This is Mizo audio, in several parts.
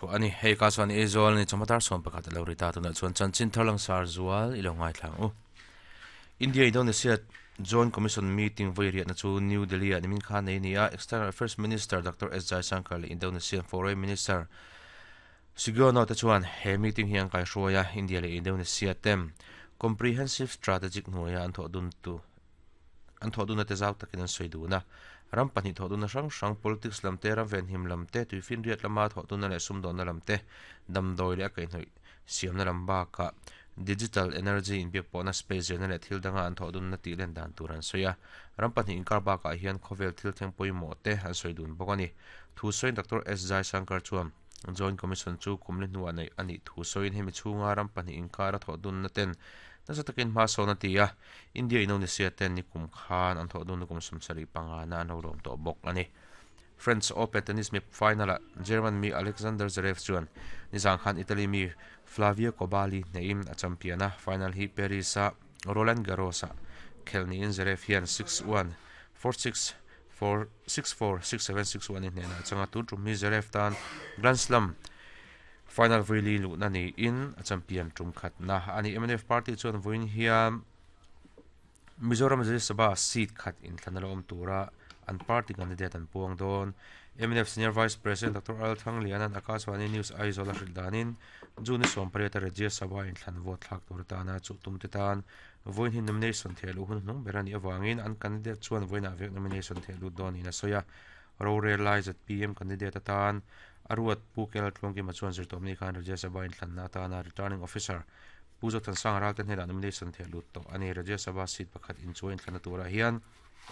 Pawh a ni. Hei ka chuan Aizawl a ni chawhma dar 11 a lo ri ta. Tunah chuan chanchin thar langsar zual i lo ngaithla ang u. India Indonesia Joint Commission meeting vawi riahna chu New Delhi ah nimin khan nei a ni a. External Affairs Minister Doctor S Jaishankar leh Indonesian Foreign Minister Sugiono te chuan he meeting hi an kaihruai a. India leh Indonesia ten Comprehensive Strategic hnuaia an thawh dun tu An thawhdunna te zau takin an sawi dun a. Ram pahnih thawhdunna hrang hrang, politics lam te, ram venhim lam te, tuifinriat lama thawhdunna leh sumdawnna lam te, damdawi leh a kaihhnawih siamna lam bakah digital energy inbiakpawhna space zirna leh thil danga an thawhdunna tih len dan tur an sawi a. Ram pahnih inkar bakah hian khawvel thil thleng pawimawh te an sawi dun bawk a ni. Thu sawiin Doctor S Jaishankar chuan Joint Commission chu kumli hnuah neih a nih thu sawiin hemi chhunga ram pahnih inkara thawhdunna ten nasa takin hma sawn a ti a. India Indonesia ten nikum khan an thawh dun kum 75 na an lo lawm tawh bawk a ni. French Open tennis mi final ah German mi Alexander Zverev chuan nizan khan Italy mi Flavio Cobolli hnehin a champion a, final hi Paris a Roland Garros ah khelh niin Zverev hian 6-1, 4-6, 4, 6-4, 6-7, 6-1 in hnehna a chang a, tun tum hi Zverev tan Grand Slam final vawi luhna niin a champion tum khatna a ni. Mnf party chuan vawiin hian Mizoram Rajya Sabha seat khat inthlan a la awm tura an party candidate an puang dawn. Mnf Senior Vice President Doctor Al Thangliana'n Akashvani News Aizawl a hrilh danin June ni 18 a Rajya Sabha inthlan vote thlak tur atana chuh tumte tan vawiin hi nomination theh luh hun hnung ber a nih avangin an candidate chuan vawiinah vek nomination theh lut dawn niin a sawi a. Rorel lai zpm candidate atan a ruat Pu Kel Tluangkima chuan zirtawpni khan Rajya Sabha inthlanna atana Returning Officer Pu Zothansanga Ralte hnenah nomination theh lut tawh a ni. Rajya Sabha seat pakhat inchuai inthlanna turah hian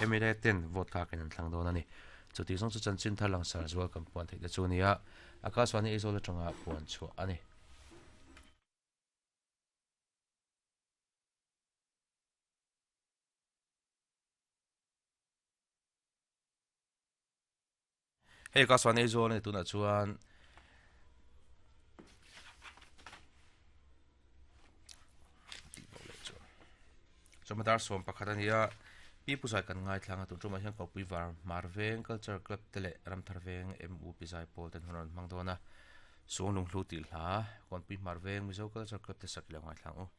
mla ten vote thlakin an thlang dawn a ni. Chutih zawng chu chanchin thar langsar zual kan puan theih te chu a ni a, Akashvani Aizawl atanga puan chhuah a ni. Hei ka chuan Aizawl a ni tunah chuan chawhma dar 11 a ni a pi pu zai kan ngaithlang a tun tumah hian Kawpui var Hmar Veng Culture Club te leh Ramthar Veng MUP Zaipawl ten hun an rawn hmang dawn a Suanglung Hlu tih hla Kawnpui Hmar Veng Mizo Culture Club te sak i lo ngaithlang u.